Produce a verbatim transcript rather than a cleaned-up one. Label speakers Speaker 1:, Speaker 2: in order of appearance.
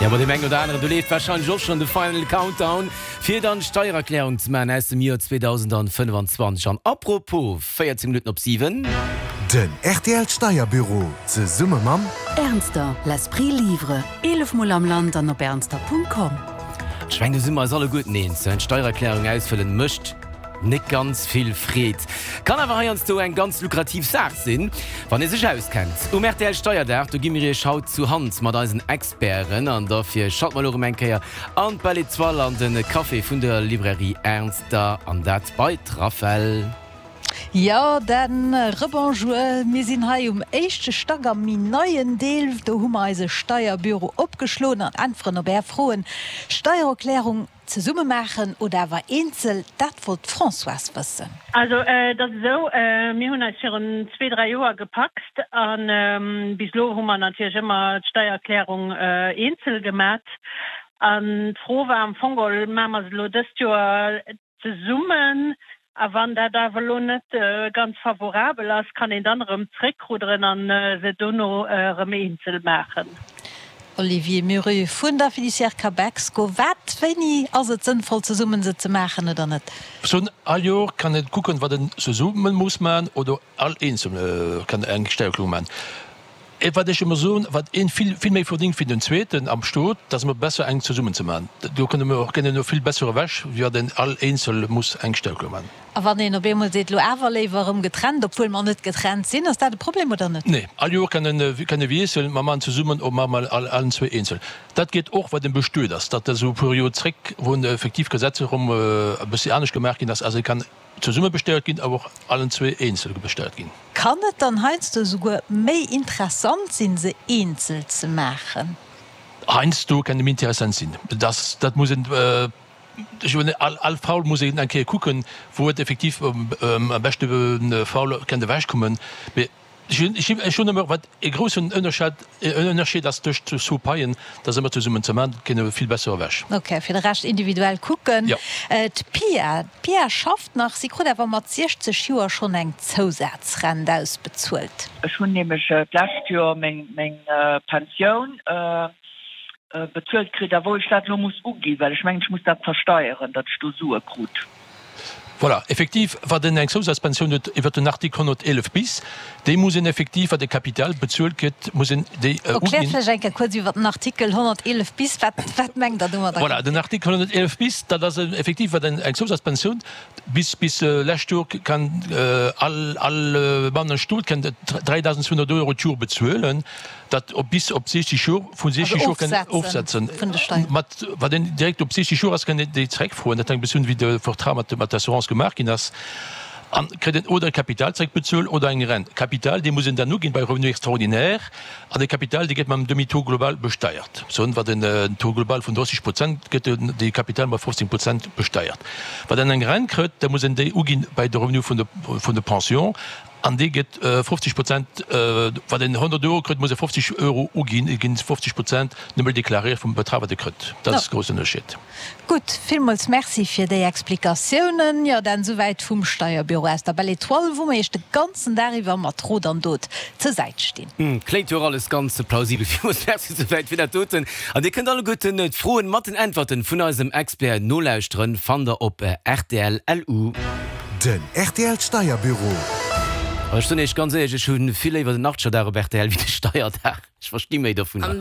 Speaker 1: Ja, bei deem engen oder aneren, do leeft warscheinlech och schonn de Final Countdown, fir dann d'Steiererklärung ze maachen aus dem Joer zweedausendfënnfanzwanzeg. An apropos, véierzéng Minutten op siwen.
Speaker 2: Den R T L Steierbüro zesumme mam.
Speaker 3: Ernster, l'esprit livre, eelef Mol am Land an op ernster Punkt com.
Speaker 1: Ech mengen, do si mer eis alleguerten eens, d'Steiererklärung ausfëllen mécht net ganz vill Freed. Kann awer heiansdo eng ganz lukrativ Saach sinn, wann ee sech auskennt. Um R T L Steierdag, do gi mir iech haut zu Hand mat eisen Experten an dofir schalte mer elo erëm eng Kéier an d'Belle Étoile an de Café vun der Librairie Ernster an dat bei d'Rafel.
Speaker 4: Jo, dann rebonjour. Mir sinn hei um éischte Stack am méi neien Deel. Do hu mer eise Steierbüro opgeschloen an äntweren op Är Froen. Steiererklärung zesumme maachen oder awer eenzel, dat wollt d'Françoise wëssen.
Speaker 5: Also dat ass esou, mir hunn eis virun zwee, dräi Joer gepacst an bis elo hu mer natierlech ëmmer d'Steiererklärung eenzel gemat. An d'Fro war am Fong geholl, maache mer se elo dëst Joer zesummen a wann dat awer elo net ganz favorabel ass, kann een dann erëm zréckrudderen an se dono erëm eenzel maachen?
Speaker 4: Olivier Muru vun der Fiduciaire Cabexco, Wat, wéini ass et sënnvoll zesummen se ze maachen oder net?
Speaker 6: Soen, all Joer kann een kucken, wat een zesummen muss maachen oder all eenzel kann eng Steiererklärung maachen. Wat ech ëmmer soen, wat een vill, vill méi verdéngt wéi den zweeten am Stot, dat ass ëmmer besser eng zesummen ze maachen. Do kënne mer och kënnen vill besser ewech, wéi wat een all eenzel muss eng Steiererklärung maachen.
Speaker 4: A wann een op eemol seet, elo awer léiwer erëm getrennt, obwuel mer net getrennt sinn, ass dat e Problem oder net?
Speaker 6: Nee, all Joer kann een, kann ee wiesselen, mer maachen zesummen oder maache mer all, allen zwee eenzel. Dat geet och, wat een bestuet ass, dat ass esou e puer Joer zréck, wou effektiv d'Gesetz erëm e bëssi anescht gemaach ginn ass. Also et kann zesumme besteiert ginn, awer och allen zwee eenzel besteiert ginn.
Speaker 4: Kann et dann heiansdo esouguer méi interessant sinn, se eenzel ze maachen?
Speaker 6: Heiansdo kann et méi interessant sinn. Dat, dat muss een, ech mengen, all, all Fall muss een eng Kéier kucken, wou et effektiv am beschte Fall kann ewechkommen. Mee ech hunn, ech hunn ëmmer, wat e groussen Ënnerscheid, Ënnerscheed ass tëscht zwou Paien, dat ass ëmmer zesummen ze maachen, kënne vill besser ewech.
Speaker 4: Ok, fir de Rescht individuell kucken.
Speaker 6: Jo.
Speaker 4: D'Pia, d'Pia schafft nach, si krut awer mat siechzeg Joer schonn eng Zousazrent ausbezuelt.
Speaker 7: Ech hunn nämlech d'lescht Joer meng, meng Pensioun bezuelt kritt, a wou ech dat elo muss uginn, well ech mengen, ech muss dat versteieren, datt ech do Sue krut.
Speaker 6: Voilà, effektiv, wat en eng Zousazpensioun huet iwwert den Artikel honnerteelef bis, déi muss en effektiv, wat e Kapital bezuelt kritt, muss en déi
Speaker 4: uginn. Erkläert vläicht eng Kéier kuerz iwwert den Artikel honnerteelef bis, wat, wat mengt Der domadder?
Speaker 6: Voilà, den Artikel honnerteelef bis, dat ass effektiv, wat en eng Zousazpensioun bis, bis lescht Joer kann all, all Mann am Stot kann dräidausend zweehonnert Euro d'Joer bezuelen, dat op bis op siechzeg Joer, vu siechzeg Joer kann ofsetzen. Mat, wat een direkt op siechzeg Joer ass, kann een déi zeréckfroen. Dat hänkt e bëssen un, wéi de Vertrag mat, mat der Assurance gemaach ginn ass. An kritt een oder e Kapital zeréckbezuelt oder eng Rent. Kapital, dee muss een dann uginn bei Revenu extraordinaire. An de Kapital, dee gëtt mam Demi-taux global besteiert. Soen, wat en Taux global vun drësseg Prozent, gëtt de Kapital mat fofzéng Prozent besteiert. Wat en eng Rent kritt, da muss en déi uginn bei de Revenu vun de, vun de Pension. An dee gëtt fofzeg Prozent, wat en honnert Euro kritt, muss e fofzeg Euro uginn, et ginn fofzeg Prozent nëmme deklaréiert vum Betrag, wat e kritt. Dat ass de groussen Ënnerscheed.
Speaker 4: Gutt, villmools Merci fir déi Explikatiounen. Jo, dann esouwäit vum Steierbüro aus der Belle Étoile, wou mer Iech de ganzen Dag iwwer mat Rot an Dot zur Säit stinn.
Speaker 1: Kléngt jo och alles ganz plausibel. Villmools Merci esouwäit fir dat doten. An Dir kënnt alleguerten d'Froen mat den Äntwerten vun eisem Expert nolauschteren, fannt der op R T L L U.
Speaker 2: Den R T L Steierbüro.
Speaker 1: Ech soen Iech ganz éierlech, ech hu vill léiwer den Achtgerdag op R T L wéi de Steierdag. Ech versti méi dovunner.